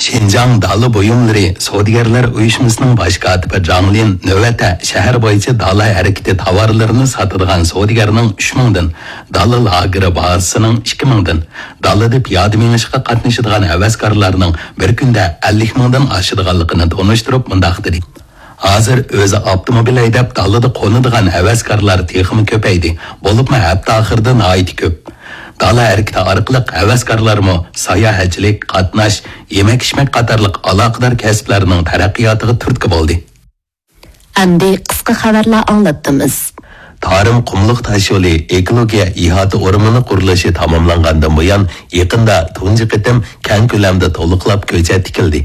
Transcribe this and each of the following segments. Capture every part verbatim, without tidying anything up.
شىنجاڭ دالا بۇيۇملىرى سودىگەرلەر ئۇيۇشمىسىنىڭ باش كاتىپى جاڭ لىن نۆۋەتتە شەھەر بويىچە دالا ھەرىكىتى تاۋارلىرىنى ساتىدىغان سودىگەرنىڭ ئۈچ مىڭدىن، دالا لاگېرى بازىسىنىڭ ئىككى مىڭدىن، دالىدا پىيادە مېڭىشقا قاتنىشىدىغان ھەۋەسكارلارنىڭ بىر كۈندە ئەللىك مىڭدىن ئاشىدىغانلىقىنى تونۇشتۇرۇپ مۇنداق دېدى: ھازىر ئۆزى ئاپتوموبىل ھەيدەپ دالىدا قونىدىغان ھەۋەسكارلار تېخىمۇ كۆپەيدى، بولۇپمۇ ھەپتە ئاخىرىدا ناھايىتى كۆپ. دالا ھەرىكىتى ئارقىلىق ھەۋەسكارلارمۇ ساياھەتچىلىك، قاتناش، يېمەك-ئىچمەك قاتارلىق ئالاقىدار كەسىپلەرنىڭ تەرەققىياتىغا تۈرتكە بولدى. ئەمدى قىسقا خەۋەرلەر ئاڭلاتتىمىز. تارىم قۇملۇق تاشيولى ئېكولوگىيە ئىھاتە ئورمىنى قۇرۇلۇشى تاماملانغاندىن بۇيان، يېقىندا تۇنجى قېتىم كەڭ كۆلەمدە تولۇقلاپ كۆچەت تىكىلدى.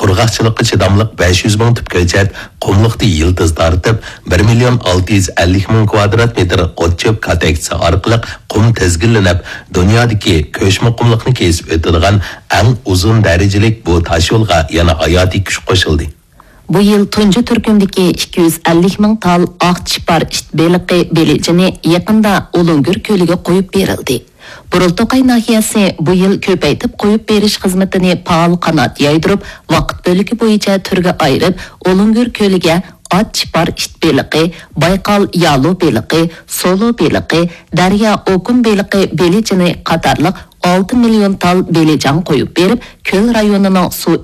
قۇرغاقچىلىققا چىداملىق بەش يۈز مىڭ تۈپ كۆچەت قۇملۇقتا يىلتىز تارتىپ، بىر مىليون ئالتە يۈز ئەللىك مىڭ كۋادرات مېتىر ئوت-چۆپ كاتەكچىسى ئارقىلىق قۇم تىزگىنلىنىپ، دۇنيادىكى كۆچمە قۇملۇقنى كېسىپ ئۆتىدىغان ئەڭ ئۇزۇن دەرىجىلىك بۇ تاشيولغا يەنە ھاياتىي كۈچ قوشۇلدى. بۇ يىل تۇنجى تۈركۈمدىكى ئىككى يۈز ئەللىك مىڭ تال ئاق چىپار ئىت بېلىقى بېلىجىنى يېقىندا ئۇلۇڭگۈر كۆلىگە قويۇپ بېرىلدى. بۇرۇلتوقاي ناھىيەسى بۇ يىل كۆپەيتىپ قويۇپ بېرىش خىزمىتىنى پائال قانات يايدۇرۇپ، ۋاقىت بۆلىكى بويىچە تۈرگە ئايرىپ، ئۇلۇڭگۈر كۆلىگە ئات چىپار ئىت بېلىقى، بايقال يالۇ بېلىقى، سولۇ بېلىقى، دەريا ئوكۇن بېلىقى بېلىجىنى قاتارلىق ئالتە مىليون تال بېلىجان قويۇپ بېرىپ، كۆل رايونىنىڭ سۇ